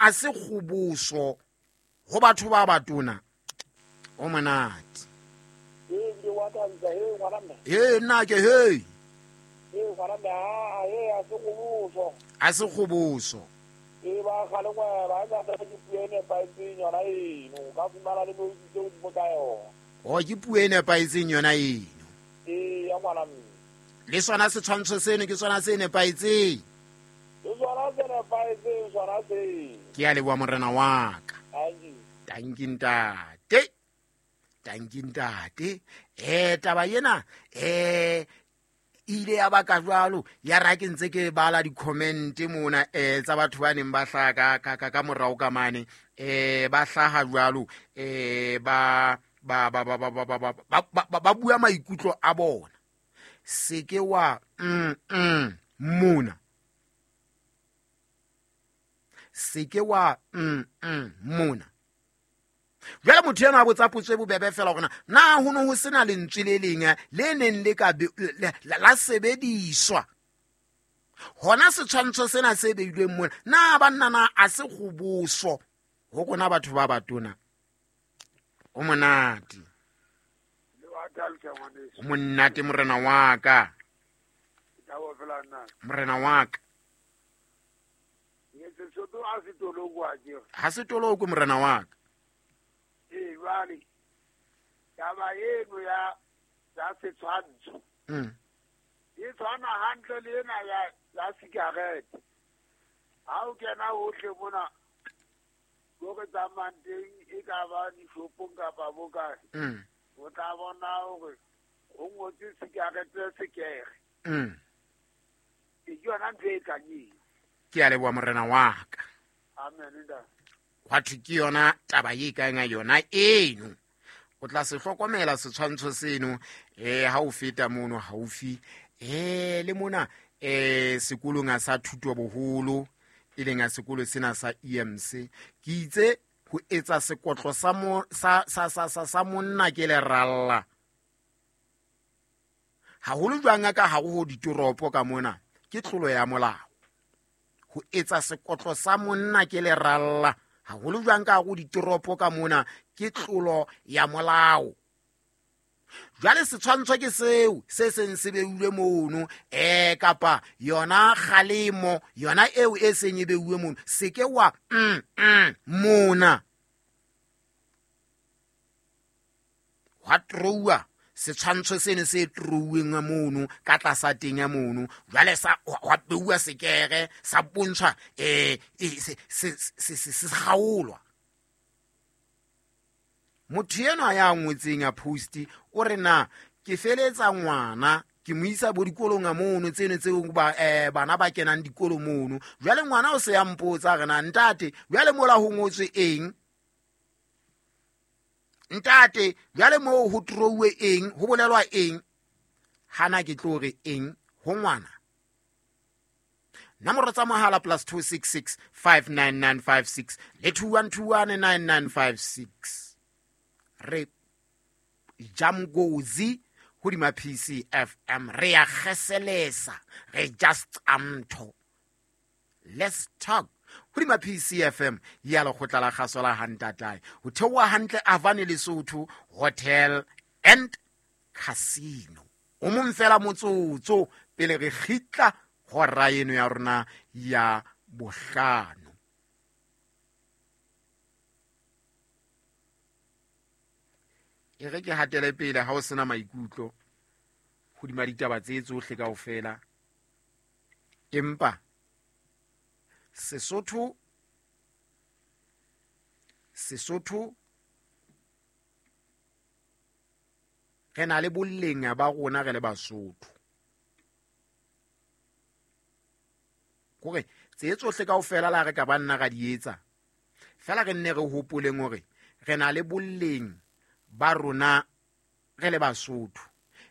a se kgoboso ho batho ba batona? O monate. Ee, ke wa thabisa, he ngwana mme. He nna ke he. Ee, ngwana mme, a he a se kgoboso. A se kgoboso. Ee, ba kgale ngwe ba ngata ke puo e nepahetseng yona eno. O ka fumana le mo itse godimo ka yona. O ke puo e nepahetseng yona eno. Ee, ya ngwana mme. Le sona setshwantsho seno ke sona se nepahetseng. Le sona se nepahetseng sona se. Ke a leboha morena wa ka. Tanki. Tanki ntate. Tanki ntate. Taba ena ile ya baka jwalo ya ra ke ntse ke bala di-comment mona tsa batho ba neng ba hlaha ka morao ka mane ba hlaha jwalo ba ba ba ba ba ba ba ba ba bua maikutlo a bona. Se ke wa mona. Se ke wa mona. Jwale motho enwa a botsa potso e bobebe fela hore na ho ne ho sena lentswe le leng le neng le ka la sebediswa. Hona setshwantsho sena se beilweng mona, na banna na a se kgoboso ho rona batho ba batona? O monate. O monate morena wa ka. Morena wa ka. Ha se toloko morena wa ka. Ee, jwale taba eno ya setshwantsho e tshwana hantle le ena ya sigarete. Ha o kena hohle mona ko re tsamayang teng, e ka ba dishopong kapa bo kae, o tla bona hore ho ngotswe sigarete sekere. Ke yona ntho e tlang eo. Ke a leboha morena wa ka. Amen, ntate. Hwa thwe ke yona taba e kang ya yona eno. O tla se hlokomela setshwantsho seno ha o feta mono haufi le mona sekolong sa thuto boholo e leng a sekolo sena sa EMC. Ke itse ho etsa sekotlo sa mo, sa, sa, sa, sa, sa monna ke leralla. Haholo jwang ka hare ho ditoropo ka mona ke tlolo ya molao. Ho etsa sekotlo sa monna ke leralla. Haholo jwang ka hare ho ditoropo ka mona ke tlolo ya molao. Jwale setshwantsho ke seo se seng se beulwe mono kapa yona kgalemo yona eo e seng e beuwe mono, se ke wa mona. Hwa trouwa setshwantsho seno se trouweng mono ka tlasa teng ya mono. Jwale sa hwa beuwa sekere sa bontshwa se kgaolwa. Motho enwa ya ngotseng ya post o re na ke feletsa ngwana ke mo isa bo dikolong a mono tseno tseo ba bana ba kenang dikolo mono. Jwale ngwana o se ya mpotsa re na ntate jwale mola ho ngotswe eng? Ntate jwale moo ho trouwe eng? Ho bolelwa eng? Hana ke tlo re eng ho ngwana? Nomoro tsa mohala +266 59956 le 21219956. Re jamgozi hodima PCFM, re ya kgeselesa, re just amtho. Let's talk hodima PCFM ya lekgotla la kgaso la Hantatae. Ho theoha hantle Avane Lesotho Hotel and Casino. O mong fela motsotso pele re kgitla hora eno ya rona ya bohlano. E re ke hatele pele ha o sena maikutlo hodima ditaba tse tsohle kaofela. Empa Sesotho re na le boleng ba rona re le Basotho. Kore tse tsohle kaofela la re ka ba nna ra di etsa, fela re nne re hopoleng hore re na le boleng ba rona re le Basotho.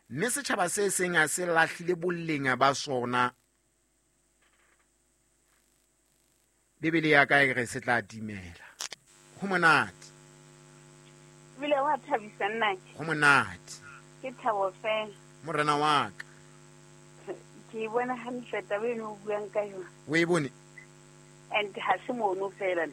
Mme setjhaba se seng ha se lahlile boleng ba sona, Bibele ya ka e re se tla timela. Ho monate. Ebile wa thabisa nnake. Ho monate. Ke thabo fela. Morena wa ka. Ke e bona hantle taba eno o buang ka yona. O e bone? And ha se mono fela.